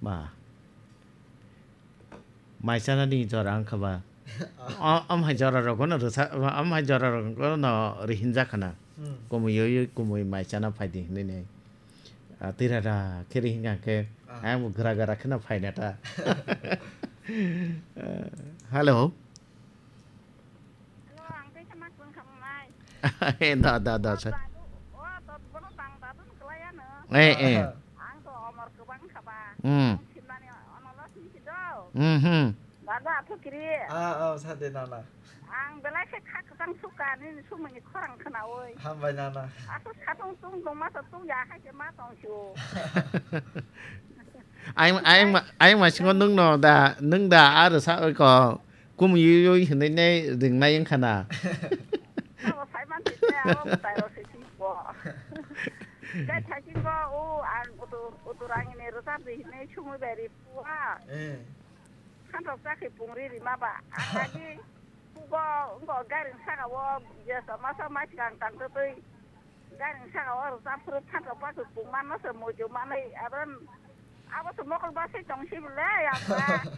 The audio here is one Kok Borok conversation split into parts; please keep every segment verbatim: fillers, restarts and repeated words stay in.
Ba. Mai chanani jora wngkha ba. O, am hai jora rokno rwsa, am hai jora rokno rihinjak khana. Hmm. Kumui yoi, kumui mai chana phaidi hinwi nai. Ah, tira da khe rihinga khe, ah, ang bo gra gra kheno phaina ta. Hello. Hello, ang tei sama kun khamnai. Eh, da, da, da, sa. Dadu, o, to bono tang dadu ni kelai ano. Eh, eh. Ang to omor kebang kaba. Hmm. Simnani onolos ni sido. Hmm, hmm. Dadu athu kiri. Ah, oh, sade nana. Ang belai khe kha kwchang suka nini sumuni khorang khnaui. Hambai nana. Athu satung tung tong masa tung ya hai khe ma tong sio. Ayang, ayang ma-, ayang masingo nwng no da, nwng da aro sa oi ko. Kum yui yui hinui nei ringnai wngkha na. Abo sai man tite, abo mwtai rok se sing ko. Kai thaisin ko, o ang utu, utu rang ini rwchap di hinui sumui bai ri pua. Eh. Khan rok chakhi pung ri ri ma ba. Ang agi pugo, ngo gari saka o, jesa masa mai sikang tang twi. Gari saka o rwchap phuru phan rok ba khe pung man no se muitu manwi. Abran, abo se mokol ba se tong si bwle, abra.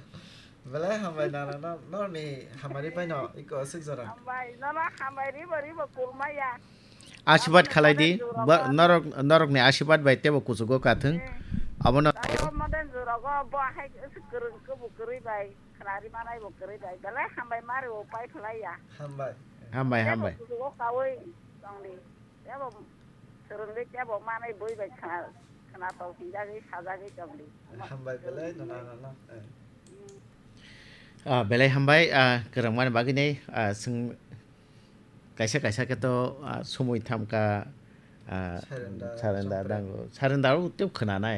Belai hambai nana, no, norni hamari pai no, iko aswk jora. Hambai, nono hambai ribo, ribo kulmaya. Asibad khalai di, ba-, norok, norokni asibad bai tebo kuchugo kathwng. Hmm. Abono. Abo modern jora go, bo hai kwrwng, kwrwng kwrwi bai, khlari manai bo kwrwi bai. Belai hambai mari o pai khlai ya. Hambai. Hambai, tebo hambai. Kuchugo kawi tongdi. Tebo swrwngwi tebo manwi bui bai khna, khna tong hinjagwi sajagwi tongdi. Hambai belai nana nana. Eh. Hmm. Ah, belai hambai, ah, kwrwngmani bagwi nei, ah, swng kaisa kaisa khe to, ah, sumui thamkha, ah, sarenda, sarenda chopra. Dango. Sarenda o tei khwnanai.